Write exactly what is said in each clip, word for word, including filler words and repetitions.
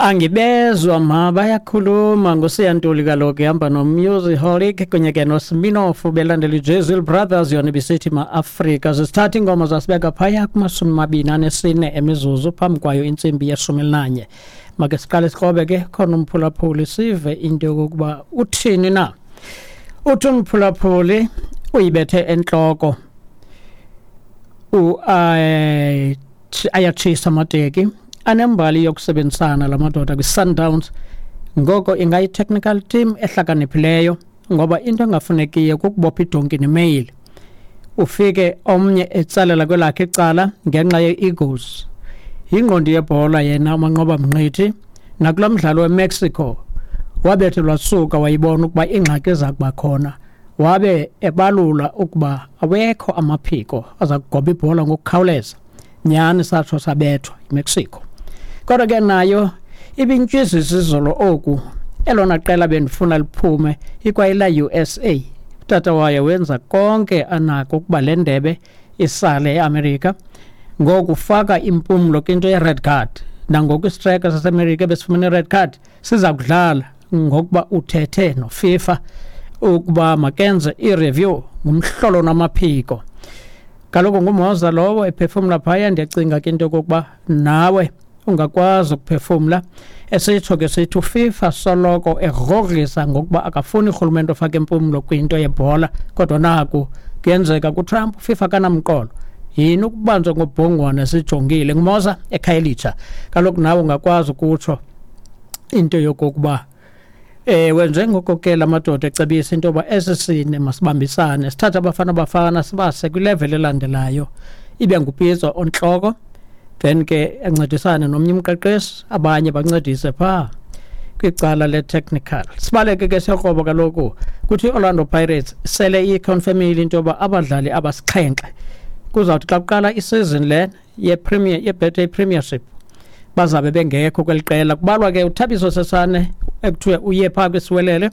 Angibezwa ma, bayakhuluma ngoSiyantuli kaloku, ihamba noMusiholic kunye ke noSminoff, belandela iJezil Brothers, yona ibisithi Ma-Afrika. Zisithatha iingoma zasibeka phaya kumashumi mabini anesine emizuzu phambi kwayo intsimbi yeshumi elinanye. Make siqale sikrobe ke khona umphulaphuli, sive into yokokuba uthini na. Uthi umphulaphuli uyibethe entloko, ayatshisa amateki, anembali yokusebenzisana la madoda kwi-Sundowns, ngoko ingayi-technical team ehlakaniphileyo, ngoba into engafunekiyo kukubopha idonki nemeyile, ufike omnye etsalela kwelakhe icala ngenxa ye-egos. Yingqondi yebhola yena uManqoba Mngqithi, nakulaa mdlalo weMexico wabethelwa suka wayibona ukuba ingxaki iza kuba khona, wabe ebalula ukuba awekho amaphiko aza kugoba ibhola ngokukhawuleza. Nyhani satsho sabethwa iMexico. Kodwa ke nayo ibintyizisa izolo oku, elona qela bendifuna liphume ikwayila U S A. Utata wayo wenza konke anako ukuba le ndebe isale eAmerika, ngoku faka impumlo kwinto ye-red card. Nangoku istriker saseAmerika besifumene i-red card siza kudlala, ngokuba uthethe noFIFA ukuba makenze i-review ngumhlolo namaphiko. Kaloku nguMoza lowo ephefumla phaya. Ndiyacinga ke into yokokuba nawe ungakwazi ukuphefumla. Esitsho ke sithi uFIFA soloko egrogrisa ngokuba akafuni urhulumente ofake impumlo kwinto yebhola, kodwa naku kuyenzeka kuTrump, uFIFA kanamqolo. Yini ukubanjwa ngobhongwane sijongile? NguMoza eKhayelitsha. Kaloku nawe ungakwazi ukutsho into yokokuba ewe, njengoko ke la madoda ecebisa into yoba esi sine masibambisane, sithathe abafana bafana sibase kwilevel elandelayo, ibe nguPitso ontloko, then ke ancedisane nomnye umqeqeshi, abanye bancedise phaa kwicala le-technical. Sibaleke ke siyokroba kaloku kuthi i-Orlando Pirates sele iyiconfirmile into yoba abadlali abasixhenxe kuzawuthi xa kuqala isizini le ye-Premier, ye-Betway Premiership bazabe bengekho kweli qela. Kubalwa ke uThabiso Sesane ekuthiwe uye phaa kwisiwelele,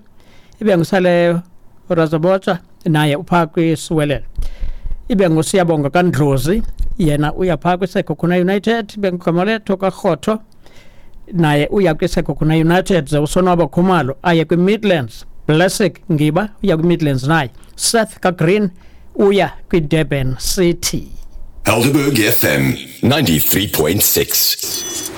ibe ngusaleyo Razabotsha naye uphaa kwisiwelele, ibe nguSiyabonga kaNdlozi yena uya phaa kwiSekhukhune United, ibe nguGamaletho kaRhotho naye uya kwiSekhukhune United, ze uSonwabo Khumalo aye kwiMidlands, Blessing Ngiba uya kwiMidlands naye, Seth kaGreen uya kwiDurban City. Helderberg F M ninety-three point six.